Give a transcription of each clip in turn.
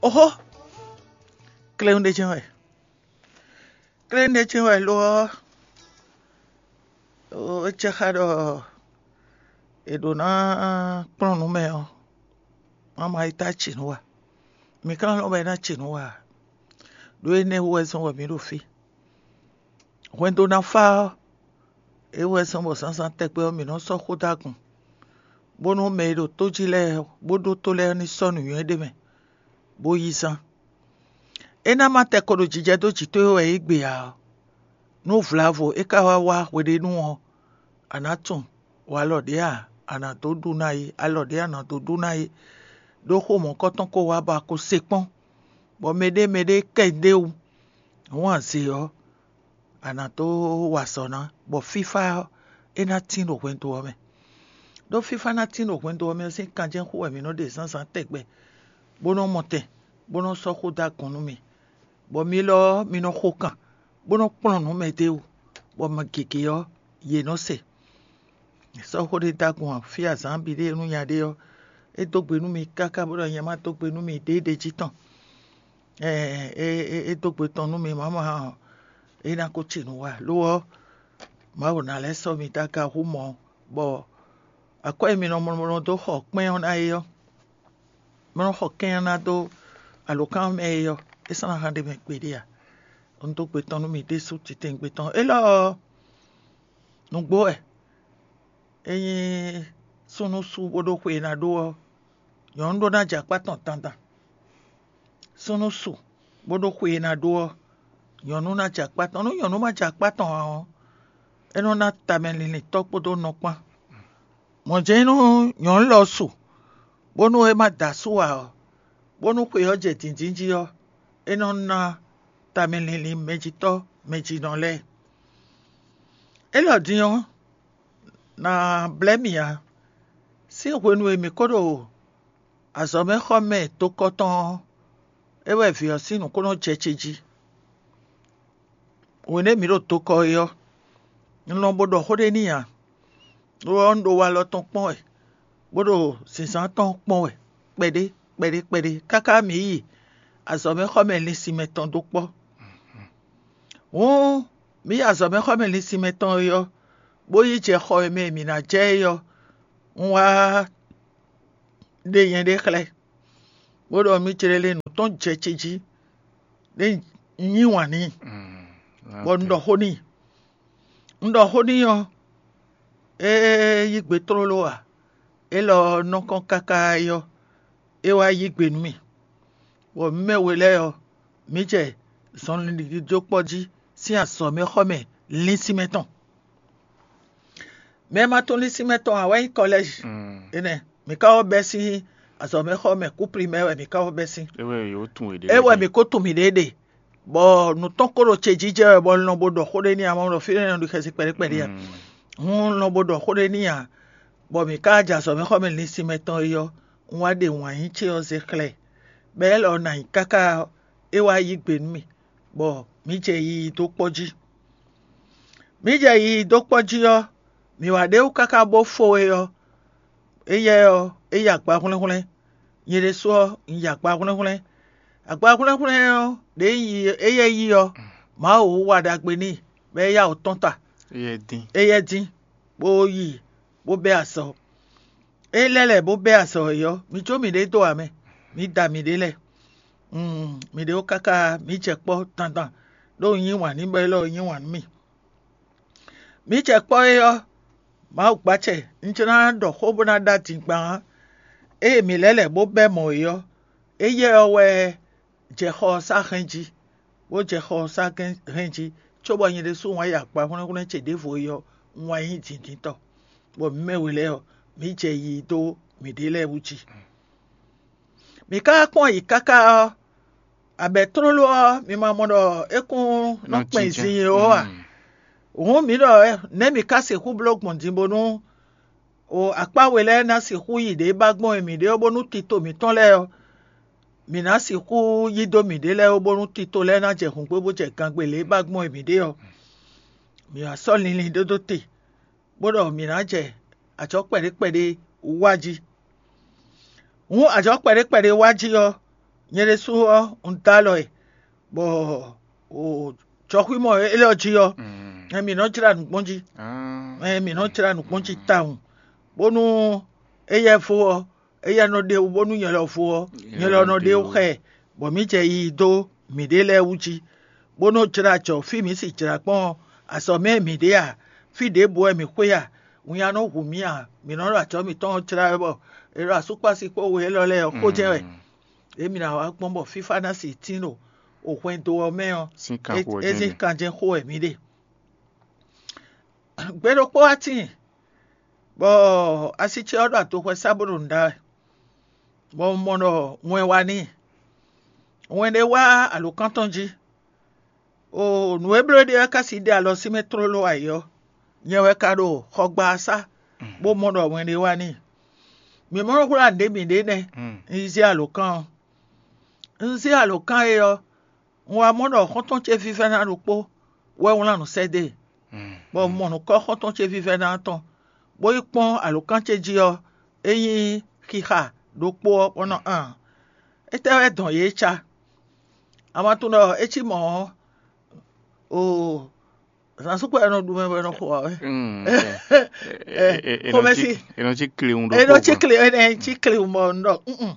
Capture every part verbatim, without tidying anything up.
Oxó, kléwún ɖé jɛ́n wɛ. Kléwún ɖé jɛ́n wɛ lo ɔ́, é jɛ xá ɖɔ è ɖǒ ná kplɔ́n nǔ mɛ ɔ́, má ma yi tá ci nǔ wa. Mi ka nɔ lɔn bɔ é ná ci nǔ wa ǎ. Ɖó énɛ́ wú wɛ zɔ́n bɔ mǐ ɖo fí. Hwɛndo ná fá ɔ́, é wɛ zɔ́n bɔ zǎnzǎn tɛgbɛ ɔ́, mǐ nɔ́ sɔ́ xó dó agun, bónú mɛ e ɖo tó jí lɛ́ɛ bó ɖótó lɛ́ɛ ní sɔ́ nǔnywɛ́ ɖé mɛ, bó yí zán. É ná má tɛ ko ɖo jijɛ dó jǐ towe wɛ é gbe ǎ ɔ́, nú vlavo é ka wá wá hweɖénu ɔ́, a nǎ tunwun walɔ ɖě a, a nǎ dó ɖu ná é, alɔ ɖě a nǎ dó ɖu ná é, ɖó xó mɔ̌kɔtɔn ko wá bɔ a ko se kpɔ́n, bɔ mɛɖé mɛɖé kɛ ɖ'é wú. Hǔn azě ɔ́, a nǎ dó wa azɔ̌ ná, bɔ fífá ɔ́, é ná tín ɖo hwɛndo ɔ́ mɛ. Ɖó fífá ná tín ɖo hwɛndo ɔ́ mɛ ɔ́ sín kanjɛ́nxú wɛ mǐ nɔ ɖe zǎnzǎn tɛgbɛ, bó nɔ mɔ tɛn, bó nɔ sɔ́ xó dó agun nú mì, bɔ mi lɔ ɔ́, mi nɔ xo kan, bó nɔ kplɔ́n nǔ mɛ d'é wú, bɔ mɛ gěgé ɔ́, yě nɔ se. Sɔ́ xó ɖé dó agun ǎ, fí azǎn bǐ ɖe nú nya ɖé ɔ́, é dó gbe nú mi káká bó ɖɔ nyɛ má dó gbe nú mi ɖěɖě jí tɔn. É dó gbe tɔn nú mi mǎmá ɔ́, é ná ko ci nǔ wa. Lo ɔ́, Mawu ná lɛ́ sɔ́ mi dó aga hú mɔ̌, bɔ akwɛ́ e mi nɔ mlɔmlɔ dó xɔ kpɛ́n ɔ́ ná é ɔ́, mi nɔ xɔ kɛ́n ɔ́ ná dó alǒkan mɛ é ɔ́, é sɔ́ ná hán ɖ'é mɛ gbeɖé ǎ. Un dó gbe tɔn nú mi ɖésú titewungbe tɔn. Élɔ́ ɔ́, nǔgbó wɛ. Ényí súnnu sú bó ɖó xwe e ná ɖó ɔ́, nyɔ̌nu ɖó ná jɛ akpá tɔn dandan. Súnnu su, bó ɖó xwe e ná ɖó ɔ́, nyɔ̌nu ná jɛ akpá tɔn. Nú nyɔ̌nu ma jɛ akpá tɔn ǎ ɔ́, é nɔ ná tamɛ linlin tɔ́ kpódó nɔ kpán. Mɔ̌ jɛ́n nú nyɔ̌nu lɔ su, bónú é ma da asú ǎ ɔ́, bónú xwe ɔ́ jɛ dǐndín jí ɔ́, é nɔ ná tamɛ linlin mɛjitɔ́ mɛjinɔ lɛ́ɛ. Élɔ́ din ɔ́, ná blɛ́ mì ǎ. Sín hwenu e mǐ ko ɖo azɔ̌mɛxɔmɛ tokɔ tɔn ɔ́, é wɛ vǐ ɔ́ sín nǔ ko nɔ jɛ ce jí. Hwenu e mǐ ɖo tokɔ é ɔ́, un lɔn bo ɖɔ xó ɖé n'i ǎ. Lo ɔ́, un ɖo walɔ tɔn kpɔ́n wɛ, bó ɖo zǐnzán tɔn kpɔ́n wɛ kpɛɖé kpɛɖé kpɛɖé, káká mǐ yi azɔ̌mɛxɔmɛ linsinmɛ tɔn dó kpɔ́. Hǔn mǐ yi azɔ̌mɛxɔmɛ linsinmɛ tɔn é ɔ́, bó yi jɛ xɔ e mɛ e mǐ ná jɛ é ɔ́, un wá ɖe nyɛɖée xlɛ́, bó ɖɔ mì jlé lé nǔ tɔn jɛ ce jí, ɖé un yí wǎn n'i, bɔ un ɖɔ xó n'i. Un ɖɔ xó n'i ɔ́, é yí gbe tlóló ǎ; élɔ́ ɔ́ nɔ kɔn káká é ɔ́, é wá yí gbe nú mì, bɔ mǐ mɛ we lɛ́ɛ ɔ́, mǐ jɛ zɔnlin ɖiɖi dó kpɔ́ jí sín azɔ̌mɛxɔmɛ linsinmɛ tɔn. Mɛ e ma tunwun linsinmɛ tɔn ǎ wɛ nyí kɔlɛ́zi. Énɛ́, mǐ ka wɔ bɛ́ sín azɔ̌mɛxɔmɛ kú primɛ́ wɛ mǐ ka wɔ bɛ́ sín. É wɛ mǐ ko tunwun mǐɖée ɖe, bɔ nǔ tɔn ko ɖo ce jijɛ wɛ, bɔ un lɔn bo ɖɔ xó ɖé n'i ǎ, ma ɖɔ fínɛ́ nɔ ɖi xɛsi kpɛɖé kpɛɖé ǎ. Hǔn un lɔn bo ɖɔ xó ɖé n'i ǎ, bɔ mǐ ka jɛ azɔ̌mɛxɔmɛ linsinmɛ tɔn é ɔ́, un wá ɖe wǎn yí ce ɔ́ zé xlɛ́ ɛ, bɔ é lɔ ná nyí káká ɔ́, é wá yí gbe nú mì, bɔ mǐ jɛ yiyi dó kpɔ́ jí. Mǐ jɛ yiyi dó kpɔ́ jí ɔ́, mǐ wá ɖ'é wú káká bó fó we ɔ́, éyɛ́ ɔ́, é yi agba hwlɛ́nhwlɛ́n; nyɛ ɖésú ɔ́, un yi agba hwlɛ́nhwlɛ́n. Agba hwlɛ́nhwlɛ́n ɔ́, ɖě un yi éyɛ́ yi ɔ́, Mawu wa ɖagbe n'i, bɔ é yá wǔ tɔ́n ta. Éyɛ́ dín, bó yi, bó bɛ́ azɔ̌. É lɛ́ lɛ̌ bó bɛ́ azɔ̌ é ɔ́, mǐ jó mǐɖée dó ǎ mɛ; mǐ da mǐɖée lɛ́ɛ. Mǐɖée wú káká mǐ jɛ kpɔ́ dandan, ɖó un yí wǎn n'i bɔ élɔ́ ɔ́ yí wǎn nú mì. Mǐ jɛ kpɔ́ é ɔ́, Mawu gbacɛ, un jló ná ɖɔ xó bó ná ɖó adingban ǎ. Ée mǐ lɛ́ lɛ̌ bó bɛ́ mɔ̌ é ɔ́, éyɛ́ ɔ́ wɛ jɛ xɔ ɔ́ sá hɛn jí, bó jɛ xɔ ɔ́ sá hɛn jí, cóbɔ nyɛ ɖésú wǎn yi akpa hwlɛ́nhwlɛ́n ce ɖěvo é ɔ́, un wá nyí dǐndíntɔ́, bɔ mǐ mɛ we lɛ́ɛ ɔ́, mǐ jɛ yiyi dó mǐɖée lɛ́ɛ wú jí. Mǐ ka wá kpɔ́n ayǐ káká ɔ́, abɛ tlóló ɔ́, mi ma mɔ ɖɔ é kún nɔ kpɛn zin é ó a? Hǔn mǐ ɖɔ nɛ̌ mǐ ka sixú bló gbɔn din bónú akpá we lɛ́ɛ ná sixú yi ɖě ba gbɔn e mǐ ɖe ɔ́, bónú tito mǐtɔn lɛ́ɛ ɔ́, mǐ ná sixú yí dó mǐɖée lɛ́ɛ ó, bónú tito lɛ́ɛ ná jɛ hǔngbé bó jɛ gangbe lě e ba gbɔn e mǐ ɖe ɔ́. Mǐ wá sɔ́ linlin ɖó dó te, bó ɖɔ mǐ ná jɛ ajɔ̌ kpɛɖé kpɛɖé wá jí. Hǔn ajɔ̌ kpɛɖé kpɛɖé wá jí ɔ́, Nyɛ ɖésú ɔ́, un dó alɔ ɛ, bɔ jɔxwímɔ élɔ́ jí ɔ́, mǐ nɔ́ jlá nǔ gbɔn jí. Mǐ nɔ́ jlá nǔ gbɔn jí tawun, bónú éyɛ́ vo ɔ́, éyɛ́ nɔ ɖe wú, bónú nyɛ lɔ vo ɔ́, nyɛ lɔ nɔ ɖe wú xá ɛ, bɔ mǐ jɛ yiyi dó mǐɖée lɛ́ɛ wú jí, bó nɔ́ jlá jɔ fí mǐ si jlǎ gbɔn ɔ́, azɔ̌ mɛ mǐ ɖe a, fí ɖěbǔ wɛ mǐ xwé a, winnyá nɔ hu mǐ a, mǐ nɔ́ ɖo ajɔ̌ mǐtɔn ɔ́ jlá wɛ bɔ è ɖo asúkpási kpó we élɔ́ lɛ́ɛ ɔ́ xó jɛ́n wɛ. Ě mǐ ná wá gbɔn bɔ fífá ná si tín ɖo hwɛndo ɔ́ mɛ ɔ́, é zín kanjɛ́n xó wɛ mǐ ɖe. Gbe ɖokpó wá tíin, bɔ asi ce ɔ́ ɖo adoxwɛ sá bó ɖo nǔ ɖa wɛ, bɔ un mɔ ɖɔ wɛn wá n'i. Wɛn ɖé wá alǒkan tɔn jí. Oo, nǔ e bló é ɖe ɔ́ ka sixú ɖe alɔ sín mɛ tlóló ayǐ ɔ́, nyɛ wɛ ka ɖo xɔgbasá, bó mɔ ɖɔ wɛn ɖé wá n'i. Mǐ mɔ nɔ hwlá nǔɖé mǐɖée nɛ́, un yi zé alǒkan ɔ́. Un zé alǒkan e ɔ́, un wá mɔ ɖɔ xɔ́ntɔn ce vívɛ́ná ɖokpó wɛ wlán nǔ sɛ́ dó e, bɔ un mɔ nǔkɔ́ xɔ́ntɔn ce vívɛ́ná ɔ́ tɔn, bó yi kpɔ́n alǒkan ce jí ɔ́, é nyí xixa ɖokpó ɔ́, bó nɔ aan. Étɛ́ wɛ dɔn yě ca? A ma tunwun ɖɔ é cí mɔ̌ ɔ́, oo, zǎnsúkpɛ e nɔ ɖu mɛ bɔ è nɔ xo ǎ wɛ. Xomɛsi, è nɔ cí klewun ɖokpó. È nɔ cí kle, è nɔ cí klewun bɔ un ɖɔ nn.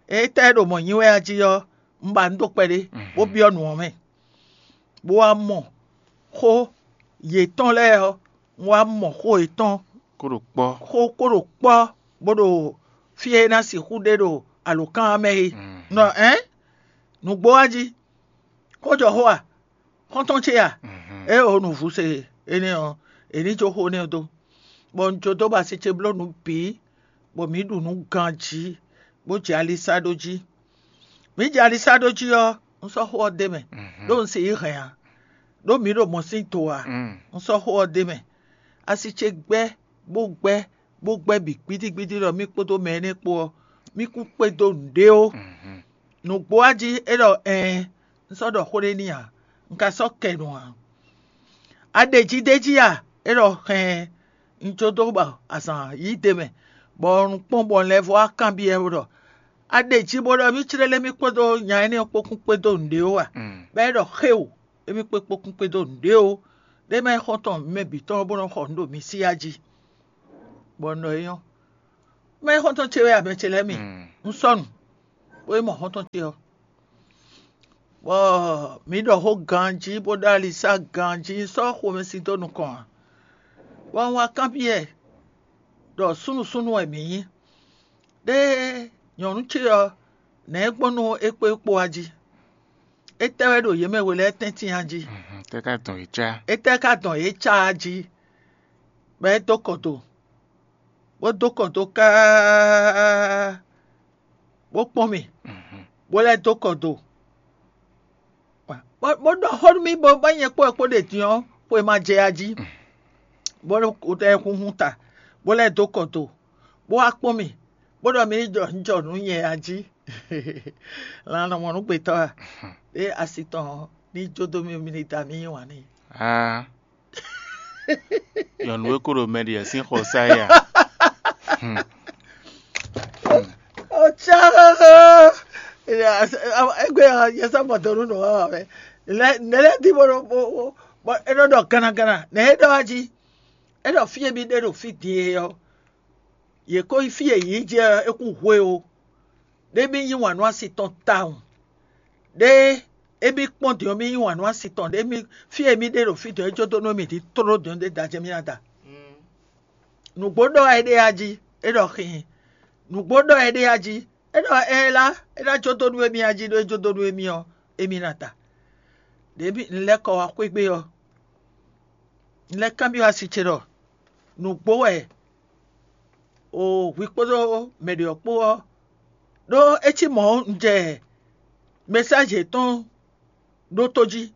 Étɛ́ ɖo mɔ̌ nyi wɛ a jí ɔ́, un ba nǔ dó kpɛɖé, bó byɔ́ nǔ ɔ́ mɛ, bó wá mɔ xó yětɔn lɛ́ɛ ɔ́, un wá mɔ xó yětɔn kó ɖo kpɔ́. Xó kó ɖo kpɔ́, bó ɖo fí e é ná sixú ɖe ɖo alǒkan ɔ́ mɛ é. Nɔ ɛ̌n, nǔgbó wá jí, xó jɔ xó a? Xɔ́ntɔn ce a? Ée o nǔvú se énɛ́ ɔ́, è ní jó xó énɛ́ ɔ́ dó, bɔ un jó dó ba asi ce bló nǔ bǐ, bɔ mǐ ɖu nǔ ganjí, bó jɛ ali sá ɖó jí. Mǐ jɛ ali sá ɖó jí ɔ́, un sɔ́ xó ɔ́ d'é mɛ, ɖó un se yí hɛn ǎ, ɖó mǐ ɖo mɔ̌ sín do ǎ. Un sɔ́ xó ɔ́ d'é mɛ. Asi ce gbɛ́, bó gbɛ́, bó gbɛ́ bǐ gbídígbídí ɖɔ mì kpódó mɛ énɛ́ kpó ɔ́, mì kún kpédó nǔɖé ó. Nǔgbó wá jí é ɖɔ ɛɛn, un sɔ́ ɖɔ xó ɖé n'i ǎ; un ka sɔ́ kɛ nǔ ǎ. A ɖe jí d'é jí a? É ɖɔ hɛn, un jó dó bɔ azǎn yí d'é mɛ, bɔ un kpɔ́n bɔ un lɛ́ vɔ́ wá kanbyɔ́ ɛ ɖɔ: A ɖe jí bó ɖɔ mì clélé mì kpódó nya énɛ́ ɔ́ kpó kún kpédó nǔɖé ó a? Bɔ é ɖɔ xéwǔ, émí kpé kpó kún kpédó nǔɖé ó, ɖé mɛ xɔ́ntɔn mǐmɛ́ bǐ tɔn bó nɔ́ xɔ nǔ ɖo mi sí ya jí. Bɔ un ɖɔ é nyɔ́. Mɛ xɔ́ntɔn ce wɛ a, mɛ ce lɛ́ɛ mi? Un sɔ́ nǔ, bó yi mɔ xɔ́ntɔn ce ɔ́, bɔ mǐ ɖɔ xó ganjí bó ɖó alisá ganjí sɔ́ xomɛsin dó nukɔn ǎ. Bɔ un wá kanbyɔ́ ɛ ɖɔ súnnu súnnu wɛ mǐ nyí. Ɖé nyɔ̌nu ce ɔ́, nɛ̌ gbɔn nú é kpó é kpó wá jí? Étɛ́ wɛ ɖo yě mɛ we lɛ́ɛ tɛ́ntin a jí? Tɛ́ ka dɔn yě cá? Étɛ́ ka dɔn yě cá a jí? Bɔ é dó kɔ do, bó dó kɔ do káá, bó kpɔ́n mì, bó lɛ́ dó kɔ do, bó ɖɔ xó nú mì bɔ bɔ nyɛ kpó ɛ kpó ɖe din ɔ́, xwe ma jɛ a jí, bó lɛ́ xúnxún ta, bó lɛ́ dó kɔ do, bó wá kpɔ́n mì, bó ɖɔ mi ní jɔ jɔ nǔ nyɛ a jí. Lan nɔ mɔ nú gbětɔ́ a? Ɖé asi tɔn ɔ́, ní jó dó mì, mi ní da mì yí wǎn n'i. Aa, nyɔ̌nu e ko ɖo mɛ ɖi ɛ sín xɔ sá ya. Ɔtsá, égbé ɔ́, yɛ sɔ́ mɔ dɔnú nɔ wá wá mɛ. Nɛ̌ lɛ́ɛ dín bó bó é nɔ ɖɔ gannaganna, nɛ̌ é ɖɔ wá jí? É ɖɔ fí e mì ɖe ɖo fí din e ɔ́, yě ko yi fí e yě yi jɛ ɔ́, é kún hwe ó. Ɖé mì yí wǎn nú asi tɔn tawun. Ɖé émí kpɔ́n din ɔ́, mì yí wǎn nú asi tɔn. Ɖé mì fí e mì ɖe ɖo fí din ɔ́, é jó dó nú mì din tló din ɔ́, ɖé da jɛ mì ná da. Nǔgbó ɖɔ wɛ é ɖe a jí, é ɖɔ xin. Nǔgbó ɖɔ wɛ é ɖe a jí, é ɖɔ ɛ lá, é ná jó dó nú émí a jí, ɖó é jó dó nú émí ɔ́, émí ná da. Ɖě mì un lɛ́ kɔ wá xwé gbe ɔ́, un lɛ́ kanbyɔ́ asi ce ɖɔ: Nǔgbó wɛ o hwi kpódó mɛ ɖě ɔ́ kpó ɔ́, ɖó é cí mɔ̌ un jɛ mɛsáji yětɔn ɖótó jí,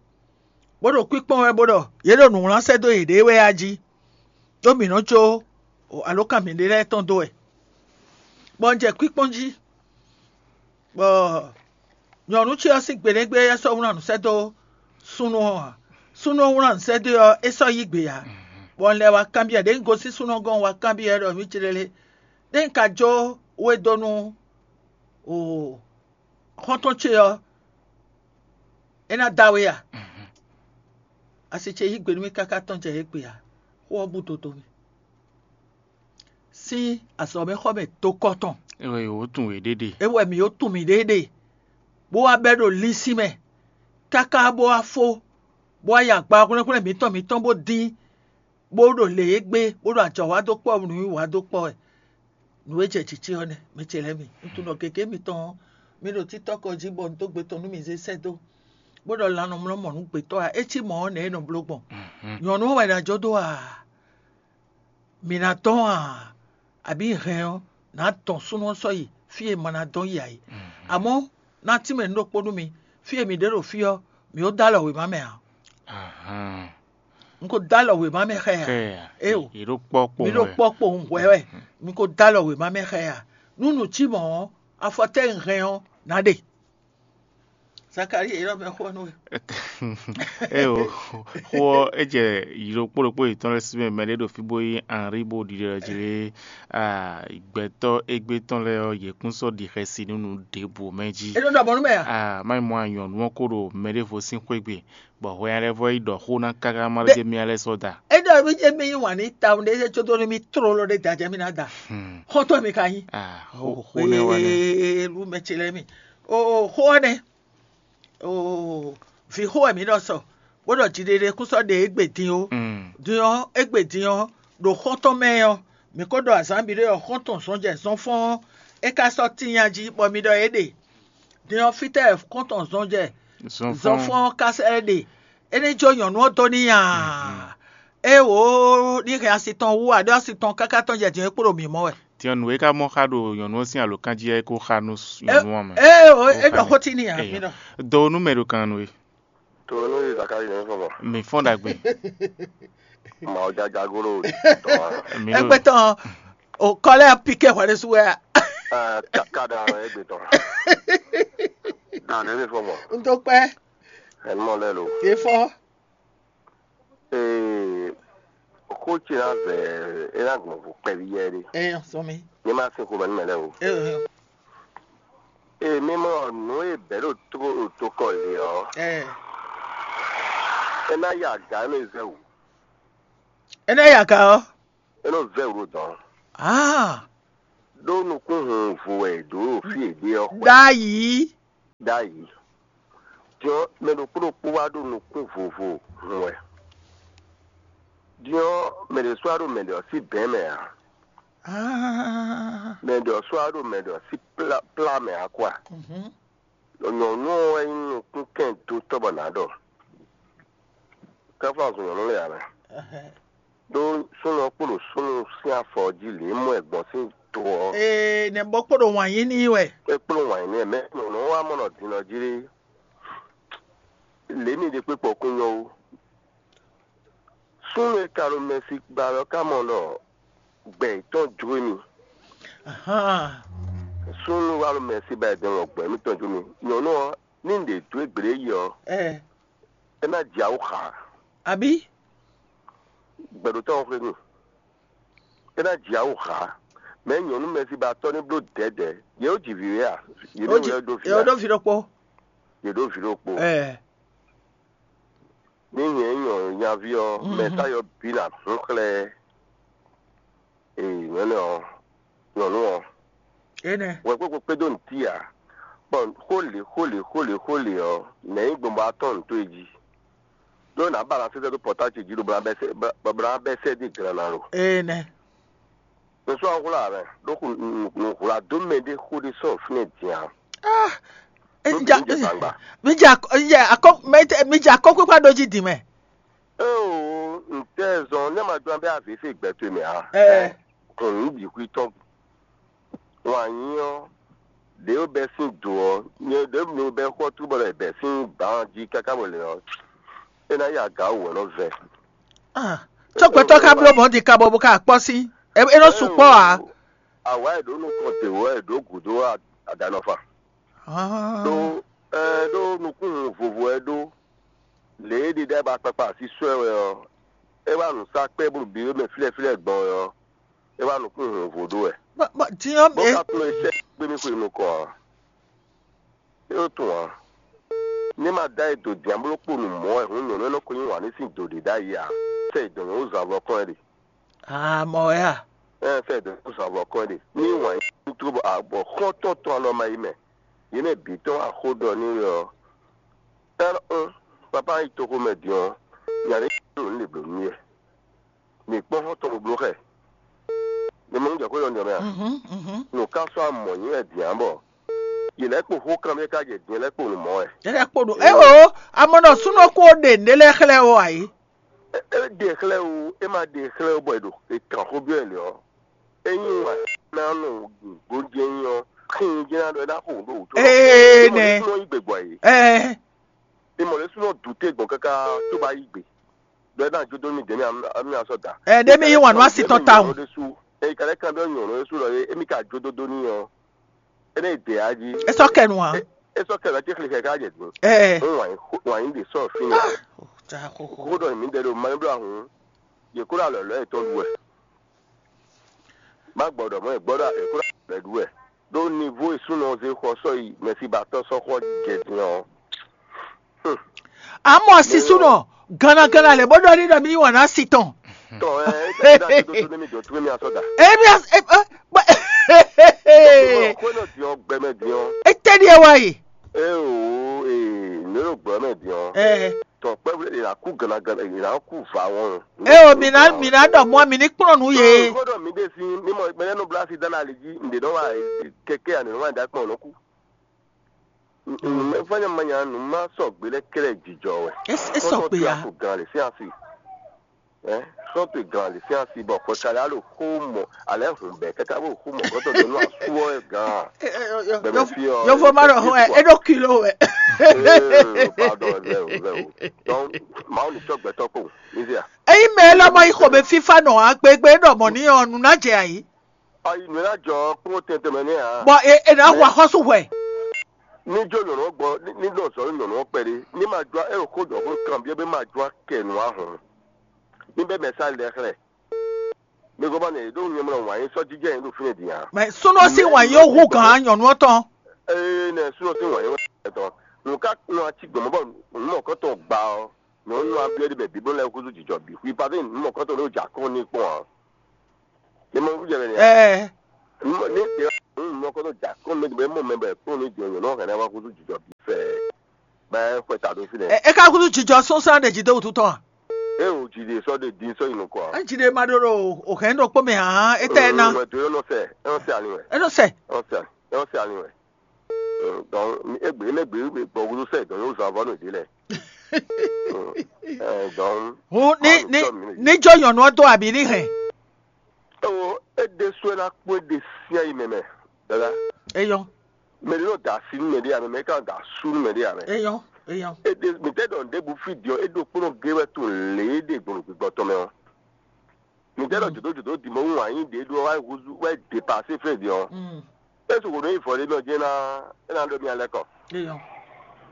bó ɖo kwíkpɔ́n wɛ bó ɖɔ yě ɖo nǔ wlán sɛ́ dó yěɖée wɛ a jí, ɖó mǐ nɔ́ jó alǒkan mǐɖée lɛ́ɛ tɔn dó wɛ, bɔ un jɛ kwíkpɔ́n jí, bɔ nyɔ̌nu ce ɔ́ sín gbeɖégbé ɔ́ sɔ́ wlán nǔ sɛ́ dó súnnu ɔ́ ǎ. Súnnu ɔ́ wlán nǔ sɛ́ dó ɔ́, é sɔ́ yí gbe ǎ, bɔ un lɛ́ wá kanbyɔ́, ɖěe un gosín súnnu ɔ́ gɔ́n un wá kanbyɔ́ ɛ ɖɔ: Mǐ ce lɛ́ɛ, ɖé un ka jó we dó nú o Xɔ́ntɔn ce ɔ́, é ná da we a? Asi ce yí gbe nú mì káká tɔn jɛ égbé ǎ. Xó ɔ́ bú dodo mì. Sín azɔ̌mɛxɔ́mɛ dokɔ tɔn. É wɛ yǒ tunwun yěɖée ɖe. É wɛ mǐ yǒ tunwun mǐɖée ɖe, bó wá bɛ́ ɖo linsin mɛ, káká bó wá fó, bó wá yi agba hwlɛ́nhwlɛ́n mǐtɔn mǐtɔn bó dín, bó ɖo lě e gbé, bó ɖo ajɔ̌ wa dó kpɔ́ nǔwiwa dó kpɔ́ wɛ. Nǔ e jɛ jǐ ce ɔ́ nɛ́, mɛ ce lɛ́ɛ mi. Un tunɔ gěgé mitɔn ɔ́, mi ɖo títɔ́ kɔ jí bɔ un dó gbe tɔn nú mi zé sɛ́ dó, bó ɖɔ lan nɔ mlɔ́ mɔ̌ nú gbětɔ́ ǎ. É cí mɔ̌ ɔ́, nɛ̌ é nɔ bló gbɔn? Nyɔ̌nu ɔ́ wɛ ná jó dó a? Mǐ ná dɔn a? Abǐ hɛn ɔ́, nǎ dɔn súnnu ɔ́ sɔ́ yi fí e ma ná dɔn yi ǎ é. Amɔ̌, ná tínmɛ nǔ ɖokpó nú mi: fí e mǐ ɖe ɖo fí ɔ́, mǐ ko dó alɔ wěma mɛ ǎ. Un ko dó alɔ wěma mɛ xá ɛ ǎ. Éeǒ, yě ɖo kpɔ́ kpowun mi ɖo wɛ. Kpɔ́ kpowun hwɛ̌ wɛ. Mi ko dó alɔ wěma mɛ xá ɛ ǎ. Nú nǔ cí mɔ̌ ɔ́, afɔ tɛ́ e un hɛn ɔ́, nǎ ɖe? Zakalíi, yě ɖɔ mɛ xó ɔ́ nú we. Eo, xó ɔ́, é jɛ yi ɖokpó ɖokpó yětɔn lɛ́ɛ sí mɛ, mɛɖé ɖo fí bó nyí Henri bó ɖiɖe ɔ́ jí lé. Gbɛtɔ́ égbé tɔn lɛ́ɛ ɔ́, yě kún sɔ́ ɖi xɛsi nú nǔ ɖěbǔ mɛ jí. É ɖo ɖɔ mɔ̌ nú mɛ a? Má nyí mɔ nyɔ̌nu ɔ́ ko ɖo mɛɖěvo sín xwé gbe, bɔ hwɛ nya lɛ́ɛ vɔ yi ɖɔ xó ná káká má ɖó jɛ mì lɛ́ɛ sɔ́ da. É ɖɔ mí jɛ mí yí wǎn ní tawun ɖé có dó nú mí tlóló ɖé da jɛ mí ná da. Xɔ́ntɔn mi ka nyí. Xó nɛ́ wá nɛ́. Lu mɛ ce lɛ́ɛ mi. O xó ɔ́ nɛ́. Oo, vǐ xó wɛ mǐ ɖɔ sɔ, bó ɖɔ jiɖiɖe kún sɔ́ ɖe égbé din ó. Din ɔ́, égbé din ɔ́, ɖo xɔ́ntɔn mɛ ɔ́, mǐ ko ɖɔ azǎn bǐ ɖé ɔ́, xɔ́ntɔn zɔnjɛ zɔnfɔ́n ɔ́, é ka sɔ́ tíin nya jí, bɔ mi ɖɔ é ɖe. Din ɔ́, fítɛ́ wɛ xɔ́ntɔn zɔnjɛ zɔnfɔ́n ɔ́ ka sɛ́ ɖe? É ní jó nyɔ̌nu ɔ́ dó n'i aa? Éeǒ, ní hɛn asi tɔn wú ǎ, ɖó asi tɔn káká tɔn jɛ din ɔ́, é kpo ɖo mǐ mɔ wɛ. Din ɔ́, nǔ e ka mɔ xa ɖo nyɔ̌nu ɔ́ sín alǒkan jí ɔ́, é ko xa nú nyɔ̌nu ɔ́ mɛ. Éeǒ, é ɖɔ xó tíin n'i ǎ, mí ɖɔ. Dɔ nú mɛ ɖo kan nú we. To nú Zakalíi nɛ́ fɔ́n mɔ. Mǐ fɔ́n ɖagbe. Mawujaja golo tɔn. Mǐ ɖo Égbé tɔn, o kɔ lɛ́ɛ piké hwɛ ɖésú wɛ a? Káká ɖa wɛ égbé tɔn. Dan nɛ́ mi fɔ́n mɔ. Un dó kpɛ́. Ɛnumɔ lɛ lo. Yě fɔ́n. Ee, xó ce ná vɛ é ná gbɔn vo kpɛví yɛ ɖé. Ɛ sɔmi. Ní ma sin xomɛ nú mɛ lɛ́ɛ o. Ɛ ɛ. Ee, mi mɔ nǔ e bɛ̌ ɖo tó ɖo tokɔ lě ɔ́, ɛ. É ná ya aga é nɔ zɛ wǔ. É ná ya aga ɔ́. É nɔ zɛ wǔ ɖo dɔ̌n. Ah. Ɖó nukúnhun vo wɛ è dǒ ɖo fí e ɖe ɔ́ xwɛ. Ɖ'ayǐ. Ɖ'ayǐ. Din ɔ́, mɛ ɖokpó ɖokpó wá ɖo nukún vovo hun wɛ. Din ɔ́, mɛ ɖě sɔ́ wá ɖo mɛ ɖě ɔ́ sín bɛ̌n mɛ ǎ. Mɛ ɖě ɔ́ sɔ́ wá ɖo mɛ ɖě ɔ́ sín plá mɛ ǎ kwa. Nyɔ̌nu ɔ́ wɛ nyí nukúnkɛndótɔ́ bɔ nǎ ɖɔ. Káfá zɔn nyɔ̌nu lɛ́ɛ ǎ mɛ. Ɖó súnnu ɔ́ kpo ɖo súnnu sín afɔ ɔ́ jí lě e mɔ ɛ gbɔn sín do ɔ́. Ee, nɛ̌ bó kpo ɖo wǎn yí n'i wɛ? É kpló wǎn yí n'i wɛ, mɛ nyɔ̌nu ɔ́ wá mɔ ɖɔ din ɔ́ jí lé. Lě mi ɖe kpé kpɔkún nyɔ́ ó. Súnnu e ka ɖo mɛsi gba wɛ ɔ́ ka mɔ ɖɔ gbɛ yětɔn jló émí. Súnnu wá ɖo mɛsi ba yětɔn ɖɔ gbɛ émítɔn jló mì. Nyɔ̌nu ɔ́, ní un ɖě dó e gblě yi ɔ́, é ná jɛ awú xa. Abǐ? Gbɛɖótɔ́ ɔ́ xwé n'i. É ná jɛ awú xa. Mɛ nyɔ̌nu mɛsi ba tɔ́ ní bló dɛ̌dɛ̌. Yě ó ji vǐ wɛ a? Yě ní wlɛ́ dó vǐ a? Yě ɖó vǐ ɖokpó. Yě ɖó vǐ ɖokpó. Ní nyɛ nyí nyɔ̌nu nyaví ɔ́, mɛ táyɔ bǐ ná hún xlɛ́. Ee, nyɔ̌nu ɔ́, nyɔ̌nu ɔ́. Énɛ́. Wɛ kpékpé kpédó ntí ǎ. Bɔn xó lě xó lě xó lě xó lě ɔ́, nɛ̌ nyí gbɔn bɔ a tɔ́n nǔ towe jí? Ɖó nǎ ba ná sɛ́sɛ́ dó pɔ̌tá ce jí ɖo bɔ ná bɛ́ sɛ́ dó glana lo. Énɛ́. Un sɔ́ hwlá ǎ mɛ, ɖó nǔ hwlá dó mɛ ɖé xó ɖé sɔ́ fínɛ́ din ǎ. Ah, mi ja mi ja akɔ mi ja akɔkpékpá ɖó jí din mɛ. Éeǒ, ntɛ́ zɔn nɛ́ ma jɔ́n bɛ́ avě se gbɛ towe mɛ ǎ. Ɛ. Kɔn nǔ bǐ xwí tɔn. Wǎn nyí ɔ́, ɖě ó bɛ́ sín do ɔ́, nyɛ ɖěbǔ bɛ́ xɔ́ tú bɔ è bɛ̌ sín gban jí káká bɔ lě ɔ́, é ná ya gǎ wǔ wɛ nɔ vɛ. Cɔ́gbɛ́tɔ́ ká bló mɔ̌ din kabɔ bó ka kpɔ́ sín. É nɔ sukpɔ́ ǎ. Awǎ e ɖǒ nukɔn te wǒ wɛ è ɖǒ gǔdo adanɔfa. Ɖó ɛ ɖó nukúnnu vovo wɛ ɖó. Lě e ɖiɖa ba kpakpa así sɔ́ ɛ wɛ ɔ́, é wá nǔ sá kpɛ́ bó ɖo biwé mɛ flɛ́flɛ́ gbɔn wɛ ɔ́, é wá nukúnnu vovo ɖó wɛ. Bó ka tunwun e sɛ́ gbé mì xwe nukɔn ǎ. É ɖo tunwun ǎ. Ní ma dá e do dǐn ambló kpo nǔ mɔ̌ wɛ hǔn nyɔ̌nu e nɔ ko yí wǎn ní sín do ɖě ɖ'ayǐ ǎ, sɛ e dɔ̌n nyɔ̌nu zǎn vɔ kɔn ɛ ɖe. Amɔ wɛ a? Ɛn, sɛ e dɔ̌n nyɔ̌nu zǎn vɔ kɔn ɛ ɖe. Ní wǎn yí ní tló bɔ abɔ xɔ́ntɔn tɔn alɔ ma yi mɛ. Yě mɛ bǐ tɔn wá xó ɖɔ n'i wɛ ɔ́. Ɛn, un, papá yi toxo mɛ din ɔ́, nya ɖé ɖo nǔ ɖě blǒ n'i wɛ. Mǐ kpɔ́n xɔ́ntɔn bó bló xɛ. Mi mɔ nú jɛ xó ɖɔ n'i ɔ́ mɛ a? Mhm, mhm. Nǔ ká sɔ́ amɔ̌ nyi wɛ din ǎ bɔ yě lɛ́ kpo xó kanbyɔ́ ká jɛ din lɛ́ kpo nǔ mɔ wɛ. Yɛ lɛ́ kpo ɖo é o, amɔ nɔ súnɔ kó ɖe nǔɖé lɛ́ɛ xlɛ́ o ǎ é. É é ɖe xlɛ́ o, é ma ɖe xlɛ́ o bɔ è ɖo è kan xó byɔ́ ɛ lě ɔ́, é nyí wǎn ná nɔ gbǒjɛ́ nyí ɔ́, xín jẹ́ ná ɖɔ é ná xo nǔ ɖo wǔ tó. Ee, nɛ. Súnɔ yí gbe gbɔ yìí. Ɛɛ. Ìmọ̀ lé súnɔ dùté gbɔn káká tó bá yí gbe. Ɖɔ é ná jó dó mì dě mì amí asɔ da. Ɛ ɖé mi yí wǎn nú asi tɔn tawun. Ɖésú. Èyí kàlẹ́ kan bẹ́ẹ̀ nyɔ̀nù ɖésú lɔ yé émi ka jó dó dó ní ɔ. É ní dè á jí. É sɔ́ kɛ nu ǎ. É sɔ́ kɛ lɔ tí xlixɛ ká jɛ dùn. Ɛ. Ń wàn yín wàn yín ɖe sɔ́ fínì. Kódɔ mǐ ɖe ɖo mánúblá hǔn. Yě kó ɖo alɔ lɔ̌ yětɔn ɖu wɛ. Má gbɔdɔ mɔ gbɔdɔ eko la bɛ ɖu wɛ ɖó nivo e súnɔ zé xɔ sɔ yi mɛsibatɔ sɔxɔ jɛ din ɔ. Amɔ sisúnɔ gannagana lɛ bó ɖɔ ní ɖɔ mí wà ná si tɔn. Tɔ ɛ ɛ ɛ ɛ ɛ mi asɔ da. Ebi as e e bɔ Xwé nɔ din ɔ gbɛmɛ din ɔ. Etɛ́ ɖíe wá yi. Ee o ee ne ɖo gbɛmɛ din ɔ. Ɛ Tɔ kpɛvlɛ yě ná kú gannagana yě ná kú vǎ wɔn. Eo, mi ná mi ná ɖɔ mɔ mi ní kplɔ́n nú yě. Xó ɖɔ mi ɖe sí mímɔ mɛnɛ nɔ blá sí dáná ali jí ǹdè nɔ wá kɛkɛ àná nɔ wá dá kpɔn nɔ kú. Mɛ fanya manya nù má sɔ gbé lɛ kɛlɛ jijɔ wɛ. É sɔ gbé ya. Kó gan lè sí asi. Ɛ sɔ pe gan lè sí asi bɔ kɔ sali alo xó mɔ alɛ hùn bɛ kɛkɛ bó xó mɔ kɔtɔ dɔ nù asúwɔ gan. Bɛbɛ fi ɔ. Yovo ma ɖɔ hɔn ɛ é ɖo kilo wɛ. Pardon, ɛ o ɛ o. Donc mawu ni tsɔ gbɛtɔ kpo. Eyi mɛ lɔ mɔ yi xɔmɛ fifa nɔ agbegbe ɖɔ mɔ ni ɔ nu na jɛ ayi. Ayi nù ná jɔ kúrò tɛntɛn mɛ ní a. Bɔ e e na wa xɔsu hwɛ. Ní jó nyɔ̀nù gbɔ ní dɔ zɔ nyɔ̀nù kpɛɖé ní ma jɔ ɛ xó jɔ xó kan biɛ bí ma jɔ kɛ nù ahɔn. Ní bɛ mɛ sá lɛ xlɛ. Mi gbɔ bá nɛ ɖó nyɛ mlɔ wǎn yín sɔ jíjɛ yín ɖo fínɛ dǐ a. Mɛ súnú sí wǎn yín ó hú gǎn nyɔ̀nù ɔ́ tɔn. Ee nɛ súnú sí wǎn yín wɛ tɔn. Nù ká nù atsi gbɔmɔ bɔ nù mɔ kɔtɔn gba ɔ. Nyɔ̌nu ɔ́ byɔ́ ɖi mɛ bǐ bó lɛ́ húzú jǐjɔ bǐ. Hwi pàdé mɔ̌kɔtɔn ɖó jǎ kɔn ní kpɔ́n ǎ. Ní mɔ wújɛ mɛ nìyá. Ɛɛ. Ní mɔ̌kɔtɔn jǎ kɔn ní bɛ mɔ mɛ bɛ kpɔ́n ní jɔ nyɔ̌nu ɔ́ hɛn ná wá húzú jǐjɔ bǐ fɛ. Bɛ xwɛ ta ɖó fínɛ́. Ɛ é ká húzú jǐjɔ sún sán ɖe jí dó wútu tɔn a? É o jǐ ɖe sɔ́ ɖe dín sɔ́ yi nukɔn ǎ. É jǐ ɖe ma ɖó ɖo o hɛn ɖo kpó mɛ hǎn é tɛ ná. Wɛ do é nɔ sɛ é nɔ sɛ ali wɛ. É nɔ sɛ. É nɔ sɛ ali wɛ. Donc égbé émɛgbé bɔ wúlú sɛ dɔn yóò zan vɔ nù dé lɛ. Donc Hun ní ní ní jó nyɔ̌nu ɔ́ dó abǐ ní hɛn. Ewo é ɖésú é ná kpó é ɖe sín ayi mɛ mɛ. Dada. Eyɔn. Mɛ ɖé nɔ da asi nú mɛ ɖé amɛ mɛ é ka nɔ da asú nú mɛ ɖé amɛ. Eyɔn. Eyɔn. É ɖe mɛ tɛ dɔn ɖěbǔ fí diɔ é ɖo kpónɔ gé wɛ to lě é ɖe gbɔn gbígbɔ tɔn mɛ ɔ́. Mǐtɛ́ ɖɔ jǒdójǒdó dimɔwú wǎn yí ɖě ɖó wá húzú wá depasé fɛ́ din ɔ́, é su hǒnú yi vɔ̌ ɖé mɛ ɔ́ jɛ́n ná é ná ɖó mì alɛ́ kɔ.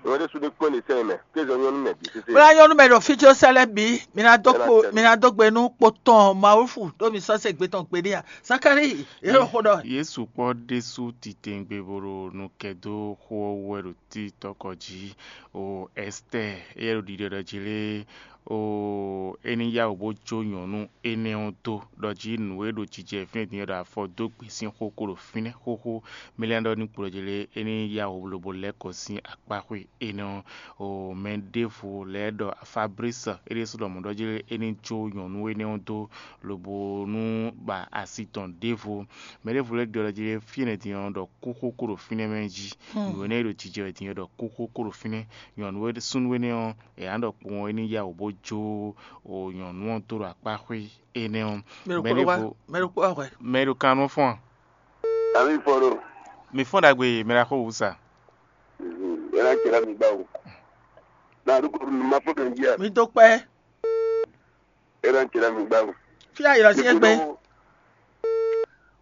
Nyɔ̌nu ɖésú ní kpɔ́n ɖe sɛ́n mɛ, kézɔ nyɔ́nú mɛ bǐ sésé. Bóyá nyɔ́nú mɛ ɖo fí có sɛ́ lɛ́ɛ bǐ, mi ná dó kpo mi ná dó gbe nú kpo tɔn Mawúfu ɖó mi sɔ́ se gbe tɔn gbeɖé a? Zakalíi, yě ɖo xó ɖɔ. Yesu kpɔ́ ɖésú titewungbe bo ɖo nukɛn dó xó ɔ́ wú wɛ ɖo títɔ́kɔ jí. O Ɛstɛ́ɛ, éyɛ́ ɖo ɖiɖɔ ɖɔ jí lé, o é ní yá wǔ bó jó nyɔ̌nu énɛ́ ɔ́ dó, ɖɔ jí nǔ e ɖo jijɛ fínɛ́ din ɔ́ ɖo afɔ dó gbe sín xó kó ɖo fínɛ́ xóxó. Mɛ lɛ́ɛ ɖɔ ní kplɔ́ jí lé, é ní yá wǔ lobo lɛ́ kɔ sín akpáxwé énɛ́ ɔ́. O mɛ ɖěvo lɛ́ɛ ɖɔ Fablísi é ɖésú ɖɔ mɔ̌ ɖɔ jí lé, é ní jó nyɔ̌nu énɛ́ ɔ́ dó lobo nú ba asi tɔn ɖěvo. Mɛ ɖěvo lɛ́ɛ ɖɔ jí lé, fínɛ́ din ɔ́ ɖɔ kú xóxó ɖo fínɛ́ mɛ jí. Nǔ énɛ́ e ɖo jijɛ wɛ din ɔ́ ɖɔ kú xóxó ɖo fínɛ́. Nyɔ̌nu e súnnu énɛ́ ɔ́, è nǎ ɖɔ kpowun é ní yá wǔ bó jó o nyɔ̌nu ɔ́ dó ɖo akpáxwé énɛ́ ɔ́. Mɛ ɖokpó wá hwɛ. Mɛ ɖo kan nɔ fɔ́n a? Ami fɔ́n ɖo. Mi fɔ́n ɖagbe mɛ ɖaxó wǔ sa. Ela cɛ la mi gba o. Na ɖo ko ma fɔ kan jí a. Mi dó kpɛ. Ela cɛ la mi gba o. Fi ayɔ si egbe.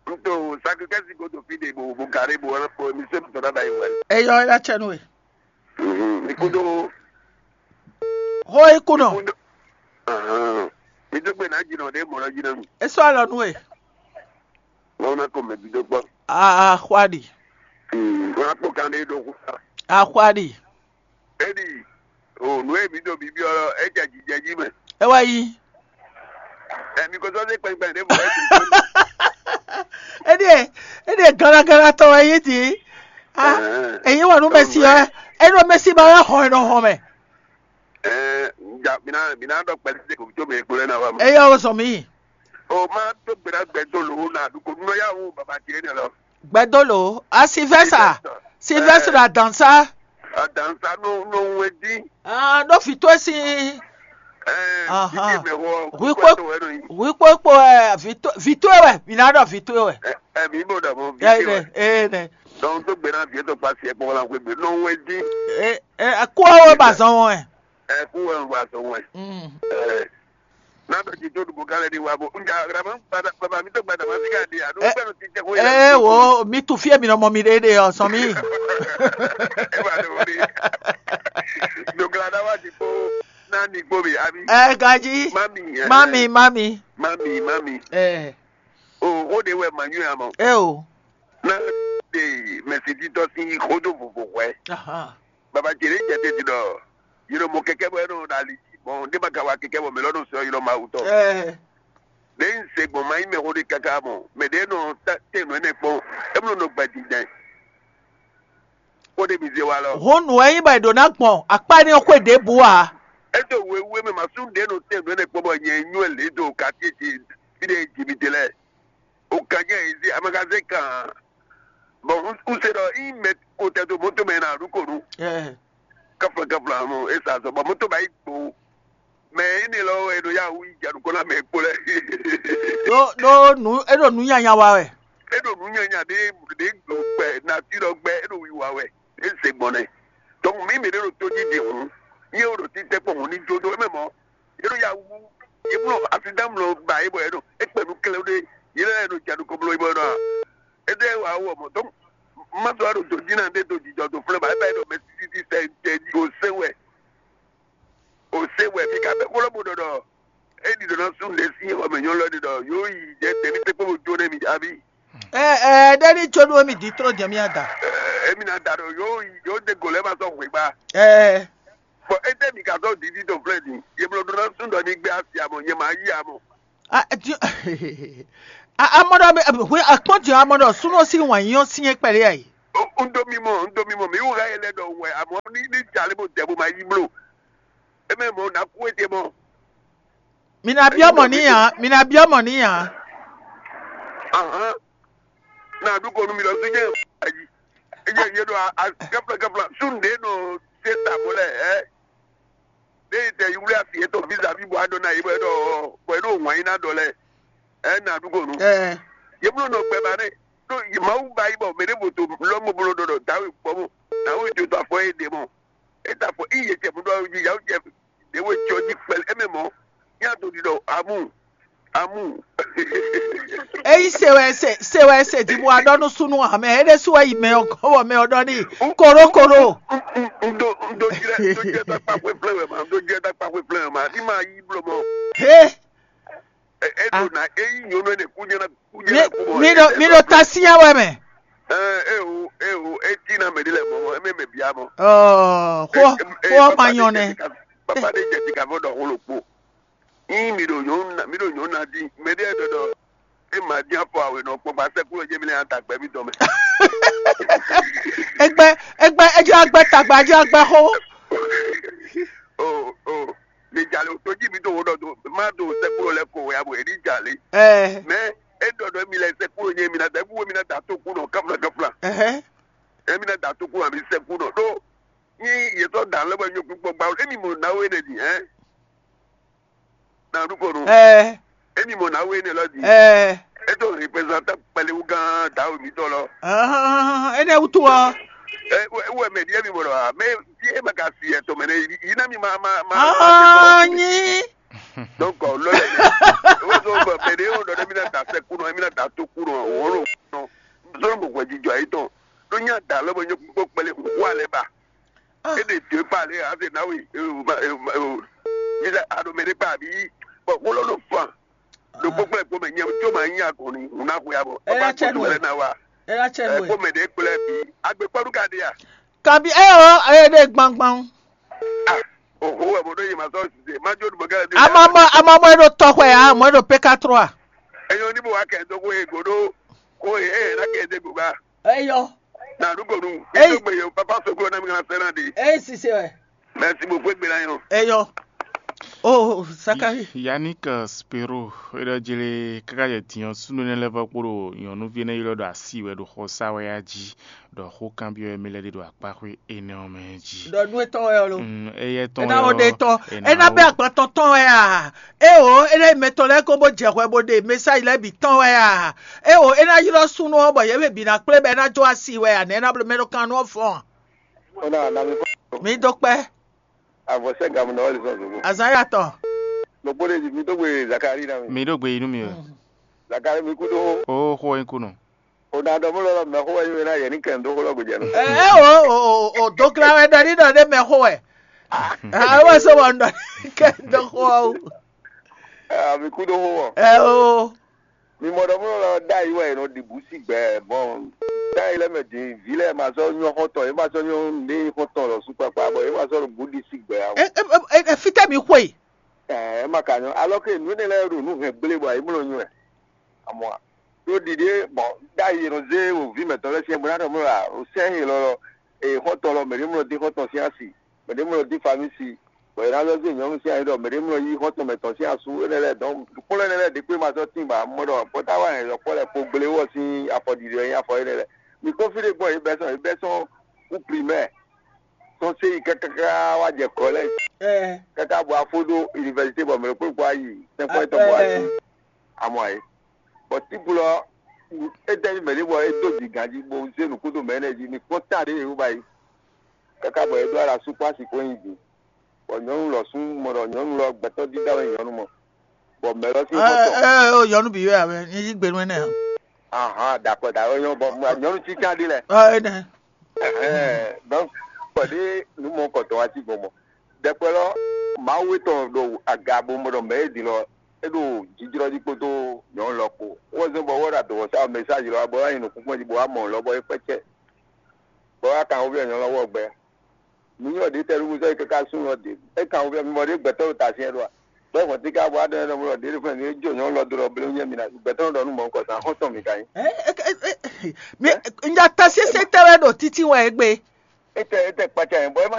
N to sakikɛsi ko to fi de bo bo gare bo wala fɔ mi se tɔ da yi wɛ. Eyɔ ela cɛ nu e. Mhm. Mi ko do. Ho ikunɔ. Ahan. Mi to gbe na jinɔ de mɔ na jinɔ mi. Eso alɔ nu e. Wọn na ko mɛ bi do gbɔ. Ah, ah, xwadi. Hmm. Wọn na kpɔ kan de do ku. Axwali. Edi, o nǔ e mǐ ɖo bǐbí ɔ́, é jɛ jijɛ jí mɛ. É wá yí. Ɛ mi ko sɔ́ dé kpɛnkpɛn ɖěbǔ lɛ́ɛ. Éɖíe, éɖíe ganagana tɔn wɛ yí dǐ. Ah, èyí wà nú mɛsi ɔ́, é ɖo mɛsi ba wɛ hɔn e nɔ hɔn mɛ. Ɛɛ, ja mi ná mi ná ɖɔ kpɛlí dé kò tó mɛ kplɔ́ ná wa mɔ. Eyɔ o zɔn mi. O ma tó gbéra gbɛ tó lò ó na ɖu kò nú ya wú baba tiɛ nɛ lɔ. Gbɛdolo, a Silvɛsa, Silvɛsa adansa. Adansa nɔ nɔ wɛ dín. Ah, ɖó vǐ towe sín. Ɛɛ, Ahan. Vǐ mɛ wɔ. Hui kpó hui kpó kpó ɛ vǐ towe wɛ, mǐ ná ɖɔ vǐ towe wɛ. Ɛ mi bɔ dà mɔ vǐ Ɛ towe nɛ, wɛ. Ɛ nɛ. Donc tó gbéra vǐ tó pa siɛ kpɔn la wɛ gbé nɔ wɛ dín. Ɛ ɛ kó ɔ́ wɛ ba zɔn wɛ. Ɛ kú wɛ wà sɔ wɛ. Mm. Ɛ. N'a bɛ ti tó dugu k'ale di wa bɔ n ja rama baba mi tó gbada ma fi ka di a. N'o Ɛ- gbɛdɔ ti tɛ ko Ee wo, mi tu fie mi nɔ mɔ mi ɖe ɖe ɔ sɔn mi. E ba do mi. Dogla da wa ti ko n'a ni ko mi abi. Ɛ gaji. Mami. Ɛ. Mami, mami. Mami mami. Ɛ O o de wɛ ma nyɔ ya mɔ. Ɛ o. N'a de mɛsititɔ si yi ko do vovo hwɛ. Aha. Baba jere jɛ te di dɔ. Yiro mo kɛkɛ bɔ ɛnɔ da li ji bɔn de ba ka wa kɛkɛ bɔ mɛ lɔ nɔ sɔ yiro ma wutɔ. Ɛ. Ne n se gbɔn ma yi mɛ xo de kaka mɔ mɛ de nɔ ta te nɔ ne kpɔn. Emlo nɔ gba di dɛ. Ko de mi ze wa lɔ. Hun nǔ wɛ nyí bɔ è ɖǒ ná gbɔn akpá énɛ́ xwé ɖěbǔ ǎ. E do wewe mɛ ma su de nɔ te nɔ ne kpɔn bɔ nyɛ nyɔ le do quartier ti fi de ji mi de lɛ. O kan jɛ yi se amagaze kan. Bɔn un se ɖɔ yi mɛ ko tɛ do moto mɛ na ɖu ko nu. Ɛ. Kafla kafla mo e sa zɔ bɔn moto ba yi gbo. Mɛ yi ne lɔ e ɖo ya wu yi ja ɖu ko na mɛ kpo lɛ. Ɖó ɖó nǔ é ɖo nǔ nyanya wa wɛ. E ɖo nǔ nyanya ɖe ɖe gbo gbɛ nati lɔ gbɛ e ɖo wiwa wɛ e se gbɔn nɛ. Donc mi mi ɖe ɖo to ji di hun. Ye o ɖo ti tɛ kpɔn hun ni jo do e mɛ mɔ. Yě ɖo ya wú, yě mlɔ asidán mlɔ ba yě bɔ yě ɖo é kpɛ nú klɛ́ ɖé, yě lɛ́ ɖo jadu kɔblɔ yibɔ ɖɔ é ɖe wà wɔ mɔ dɔn má sɔ ɖo dodina ɖé do jijɔ do flɛ ba é ba yě ɖɔ mɛ títí sɛ jɛ o se wɛ o se wɛ mi ka bɛ kóló bo ɖɔ ɖɔ é ɖi ɖɔ ná sún ɖe sí xɔ mɛ nyɔlɔ ɖi ɖɔ yóò yi jɛ tɛmí tɛ kpó bo jó nɛ mi abi. Ɛ ɛ ɖe ní tso ɖó mi di tró jɛ mía da. Emi na da ɖo yóò yi yóò de go lɛ ma sɔ hwe gba. Ɛ Bɔ ete mi ka zɔ didi to flɛ din, ye blɔ ɖo ná sún ɖɔ ní gbé asi amɔ, nyɛ ma yí amɔ. A, ti- a- amɔ ɖɔ mi- hwe akpɔn ti amɔ ɖɔ súnɔ sí wàn yín ɔ́ sí é kpɛɖé ayi. Un dó mi mɔ, un dó mi mɔ, mi wú hɛ yɛ lɛ ɖɔ wɛ amɔ ní ní jalé bó dɛ bó ma yí bló. Eme mɔ na kú ete mɔ. Mi na biɔ mɔ ní ya, mi na biɔ mɔ ní ya. Ahan. Na ɖu ko nú mi lɔ sí jẹ́ ayi. Ejɛ yé ɖo a kɛfla kɛfla sun ɖe nɔ se ta mo lɛ ɛ. Ɖe yi tɛ yi wuli asi yetɔ vizavi bɔ aɖɔ na yi bɔ ɛɖɔ bɔ ɛɖɔ wàn yi na ɖɔ lɛ ɛ na ɖu ko nu. Ɛ Ye blo nɔ gbɛ ba nɛ ɖo yi mawu ba yi bɔ mɛ ɖe voto lɔmɔ blo ɖɔ ɖɔ dawe gbɔ mo dawe jo to afɔ ye ɖe mɔ. E ta afɔ i ye cɛ mo ɖɔ yi yawu cɛ ɖe we cɔ ji kpɛlɛ ɛmɛ mɔ. Nya to ɖi ɖɔ amu amu. Eyi se wɛ se se wɛ se di bɔ aɖɔ nu sunu amɛ eɖe su wɛ yi mɛ ɔ gɔwɔ mɛ ɔ ɖɔ ni koro koro. Ndo ndo jɛ ndo jɛ ta kpa xwe flɛ wɛ ma ndo jɛ ta kpa xwe flɛ wɛ ma ni ma yi blɔ mɔ. He. E e do na eyi nyɔnu ne ku jɛ na ku jɛ na ku mɔ. Mi ɖo mi ɖo ta sia wɛ mɛ. Ɛ e o e o e ti na mɛ di lɛ mɔ mɔ e mɛ mɛ bia mɔ. Ɔɔ xɔ xɔ ma nyɔ nɛ. Papa de jɛ ti ka fɔ dɔ xolo kpo. Yín mi ɖo nyɔ̌nu ná mi ɖo nyɔ̌nu ná dín mɛɖé ɖɔ ɖɔ é ma dín afɔ awe nɔ kpɔkpa sɛkúlɔ jɛ mi lɛ ata gbɛ mi dɔn mɛ. Egbe egbe edze agbe tagba edze agbe xo. O o mi jalè o tójí mi tó wo ɖɔ do má do sɛkúlɔ lɛ ko ya bo èdí jalè. Ɛ Mɛ é ɖɔ ɖɔ mi lɛ sɛkúlɔ nyɛ mi na da ebu mi na da tó kú nɔ kafla kafla. Ɛhɛ. Emi na da tó kú nɔ mi sɛkúlɔ ɖó. Ní yě sɔ́ da lɛ́ bɔ nyɔ̌kú gbɔgba émi mɔ nǎwe ɖe din hɛn. Na ɖu ko nu. Ɛ Émi mɔ nǎwe énɛ́ lɔ din. Ɛ É tó représentants kpɛlɛwú gán dǎwe mǐtɔn lɔ. Ahán, énɛ́ wútu ɔ́. Ɛ wɛ wɛ mɛ ɖi émi mɔ ɖɔ mɛ fí é ma ka si ɛtɔ mɛ nɛ yi ná mi ma ma ma. Anyi. Donc lɔ lɛ mi. Wọ́n sọ bọ̀ mɛ ɖe yóò dɔ ɖe mi na da sɛ kú nɔ mi na da tó kú nɔ wọ́n lò nɔ. Sọ́nà mọ̀ gbẹ̀jì jọ ayé tɔn. Ló nyá da lọ́mọ nyɔ́kú gbọ́ kpɛlẹ́ kú wà lẹ́ bá. Ah. E ɖe dě kpa lě ase na we eo ma eo ma eo. Mi ɖe aɖo mɛ ɖe kpa abi bɔ wolo ɖo fan. Ɖo kpɔkpɔ ɛkpɔ mɛ nyɛ tso ma nyi agɔn ni ŋun na xwe abɔ. Ela Papa tsɛ kpɔtɔ nu lɛ ɛ. Na wa. Ela tsɛ nu Ɛ ɛ. Kpɔ mɛ ɖe kplɛ bi. Agbe kpɔɖu ka ɖe ya. Kabi eye o, eye ɖe gbangban. Oho wɛ mo ɖo yi ma sɔ sise ma jo ɖo gɛlɛ bi. Amamɔ amamɔ e ɖo tɔxwɛ ya, mɔ e ɖo P K trois. Eyo ni bo wa kɛ do ko e go ɖo ko e e na kɛ de go ba. Eyɔ. Na ɖu ko nu. Eyi. Eyi gbe ye papa soklo na mi kana sɛ na de. Eyi sise wɛ. Merci beaucoup egbe na yɔ. Eyɔ. Oh, Sakari. Yannick Spero, e ɖɔ jele kaka yɛ diɔ sunu ne lɛ vɔ kpo ɖo nyɔnuvi ne ylɔ ɖo asi wɛ ɖo xɔ sa wɛ ya ji. Ɖɔ xó kanbyɔ́ wɛ mɛ lɛ́ɛ ɖe ɖo akpáxwé énɛ́ ɔ́ mɛ jí. Ɖɔ nú étɔn wɛ ɔ́ lo. Mm, éyɛ́ tɔn Ena wɛ wo ɖe ɔ́, tɔn. Ena Ena wo. Bɛ agban tɔn tɔn wɛ a? Eo, ena yi mɛtɔn lɛ́ɛ ko bó jɛ hwɛ bó ɖe mɛsáyi lɛ́ɛ bǐ tɔn wɛ a? Eo, ena ylɔ́ súnnu ɔ́ bɔ yě mɛ bǐ ná kplé bɔ é ná jó asi wɛ a? Nɛ̌ é ná bló mɛ ɖo kan nú ɔ́ fɔ́n a? Ó ná ná mi kpɔ́n. Mi dó kpɛ́. Avɔ sɛ́ gamu nɔ wɛ lizɔn zogo. Azan ya tɔn. Lɔkpɔ ɖe mi dó gbe Zakari ná mi. Mi ɖo gbe yi nú mi wɛ. Zakari mi kú dó. O xó wɛ nyí kú nɔ. O ná dɔ mú lɔlɔ mɛ xó wɛ nyí wɛ ná yɛ ní kɛn dó xó lɔ gbèjɛ nɔ. Ɛ ɛ o o o o dókla wɛ ɖɔ ní ɖɔ ɖé mɛ xó wɛ. Ɛ wɛ sɔ wɔ ɖɔ ní kɛn dó xó ɔ́. Ɛ mi kú dó xó wɔ. Ɛ o. Mi mɔ ɖɔ mú lɔlɔ dá yi wɛ nɔ ɖi bú sí gbɛ bɔn dá yi lɛ mɛ dín ví lɛ ma sɔ nyɔ xɔtɔn yé ma sɔ nyɔ ní xɔtɔn lɔ sukpakpa bɔ yé ma sɔ ɖo bú ɖi sí gbɛ awo. Ɛ ɛ ɛ fitɛ mi xwe. Ɛ ɛ ma ka nyɔ alɔ ke nǔ énɛ́ lɛ́ɛ ɖo nǔ hɛn gblé bɔ ayé mlɔ nyɔ ɛ. Amɔ ɖó ɖiɖe bɔn ɖ'ayǐ e nɔ zé wò vǐ mɛtɔn lɛ́ɛ syɛ́n bó ná ɖɔ mɔ ǎ, o sɛ́n e lɔ lɔ e xɔ́ntɔn lɔ mɛɖé mlɔ dín xɔ́ntɔn sín asi, mɛɖé mlɔ dín famísi, bɔ è nǎ lɔ zé nyɔ̌nu sín ayi ɖɔ mɛɖé mlɔ yí xɔ́ntɔn mɛtɔn sín asú énɛ́ lɛ́ɛ dɔn kplɔ́n énɛ́ lɛ́ɛ ɖě kpé ma sɔ́ tín bǎ mɔ ɖɔ pɔ́táwa hɛn yɔkpɔ́ lɛ́ɛ kpo gblé wɔ sín afɔ ɖiɖi wɛ nyí afɔ énɛ́ lɛ́ɛ. Mi kpɔ́n fí ɖé gbɔn yě bɛ́ sɔn yě bɛ́ sɔn kú primɛ́ɛ sɔ́ sé yi káká wá jɛ kɔlɛ́j káká bɔ afó ɖó univɛsité bɔ mɛ ɖokpó ɖokpó ayi sɛnfɔ́n yětɔn bɔ wá sí amɔ ayé. Bɔ tíblu ɔ́, é tɛ́ nyí mɛ̌ ɖé bɔ é dó bǐ ganjí bó zé nǔkúdo mɛ énɛ́ jí? Mi kpɔ́n ta ɖě e wú ba yi, káká bɔ é ɖó ala sú kpó asi kpó nyi bǐ. Bɔ nyɔ̌nu lɔ sú mɔ ɖɔ nyɔ̌nu lɔ gbɛtɔ́ dídá wɛ nyɔ̌nu mɔ, bɔ mɛ̌ lɔ sín xɔ́ntɔn. Ɛ ɛ o nyɔ̌nu bǐ wɛ a wɛ nyí yí gbe nú énɛ́ ǎ. Ahan, dakɔ dakɔ nyɔ̌nu bɔ nyɔ̌nu títí aɖé lɛ. Ɔ énɛ́. Ɛhɛn, donc kpɔɖé nǔ mɔ kɔtɔn wá sí gbɔn mɔ. Ɖɛkpɛ lɔ, Mawu e tɔn ɖo aga bo mɔ ɖɔ mɛ e din lɔ, é ɖo jijlɔ jí kpódó nyɔ̌nu lɔ kpó. Wɔ zɔn bɔ wɔ ɖo adɔwɔ sa mɛsáji lɔ bɔ wá nyi nukúnkún jí bɔ wá mɔ lɔ bɔ é kpɛcɛ. Bɔ wá kan wóvia nyɔ̌nu lɔ wɔ gbɛ. Mi nyɔ ɖě tɛ ɖuɖu sɔ é káká sún lɔ ɖě. É kan wóvia mi mɔ ɖě gbɛtɔ́ ɖo ta syɛn ɖo a? Bɔ vɔn tí ká bɔ adɔn ɖɔ mɔ ɖě ɖo fún mi jó nyɔ̌nu lɔ dó ɖɔ blé nyɛ mi na gbɛtɔ́ ɖɔ nú mɔ kɔ sa xɔ́ntɔn mi ka nyí. Mi n ja ta sese tɛ wɛ ɖo títí wɛ egbe. Étɛ étɛ kpacá yẹn bɔ é ma